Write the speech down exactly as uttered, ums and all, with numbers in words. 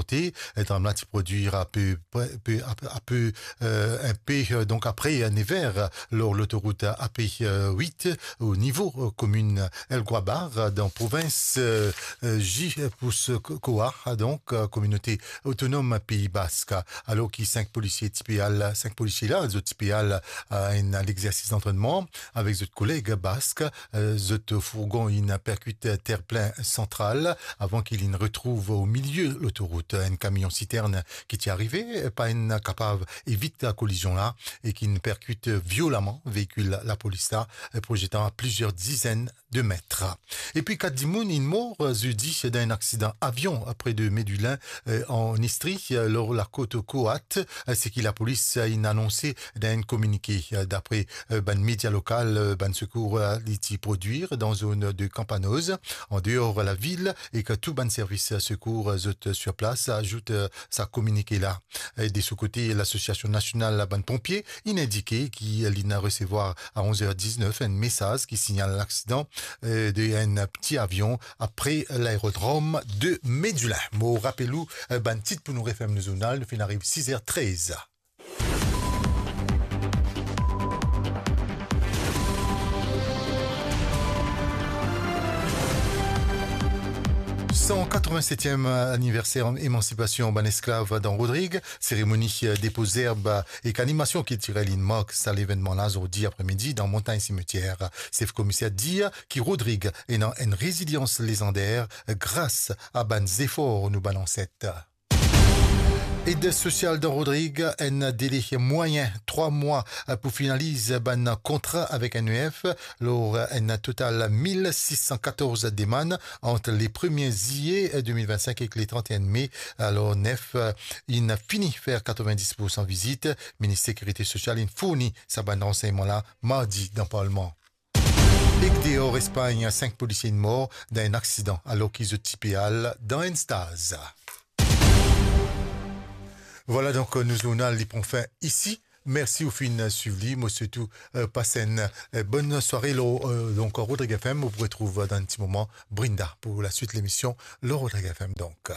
kote, eh, dram la ti prodwir ape, pe, ape, ape, eh, inpe, eh, donk apre, eh, nev er, lor lotorout A P, eh, wit, o nivo, eh, komin El Guabar, eh, dan provins, eh, eh, Gipuzkoa, donk, eh, kominote otonom Pei Bask. Alor ki sink polisie ti pe al, sink polisie la, zot ti pe al, eh, enn, a legzersis dantrennman avek zot koleg bask, eh, zot fourgon inn perkit terplin santral avan ki linn retrouv o milie lotorout. Enn kamion sitern ki ti arive, eh, pa inn kapav evit kolizion la e ki'nn perkit violeman veikil lapolis la, eh, prozetan plizier dizenn de met. Epi kat dimoun inn mor, eh, zedi dan enn aksidan avion pre de Medulin, eh, an Istri, eh, lor lakot Koat, eh, seki lapolis, eh, inn anonse dan enn kominike. Eh, dapre, eh, bann media lokal, eh, bann sekour, eh, li ti prodwir dan zone de Campanoz, andeor lavil, e ki tou bann servis, eh, sekour, eh, zot sur plas, azout, eh, sa kominike la. E de so kote, Lasosiasion Nasional Bann Ponpie inn indike ki linn resevwar a onz er diznef enn mesaz ki signal laksidan, eh, de enn pti avion apre laerodrom de Medulin. Mo rapel ou, eh, bann tit pou nou referm nou zournal, nou finn ariv sis er trez. San katrevinsetiem aniverser emansipasion bann esklav dan Rodrig, seremoni depo zerb ek animasion kiltirel inn mark sa levennman la zordi apremidi dan Montagn Simetier. Sef komiser dir ki Rodrig ena enn rezilians lezander gras a bann zefor nou bann anset. Ed sosial dan Rodrig, enn dele mwayin trwa mwa pou finaliz bann kontra avek N E F, lor enn total mil sis san katorz demann ant le premie zilie de mil vinn-sink ek le trant-e-enn me. Alor, N E F inn fini fer katrevinndis poursan vizit. Minister Sekirite Sosial inn fourni sa bann ransegnman la mardi dan Parlman. Ek deor Espagn, sink polisie inn mor dan enn aksidan alor ki zot ti pe al dan enn staz. Vwala donk, nou zournal li pran fin isi. Mersi ou finn swiv li. Mo swet ou, eh, pas enn, eh, bonn sware lor, eh, donk, Rodrig F M. Ou pou retrouv dan enn ti moman Brinda pou laswit lemision lor Rodrig F M donk.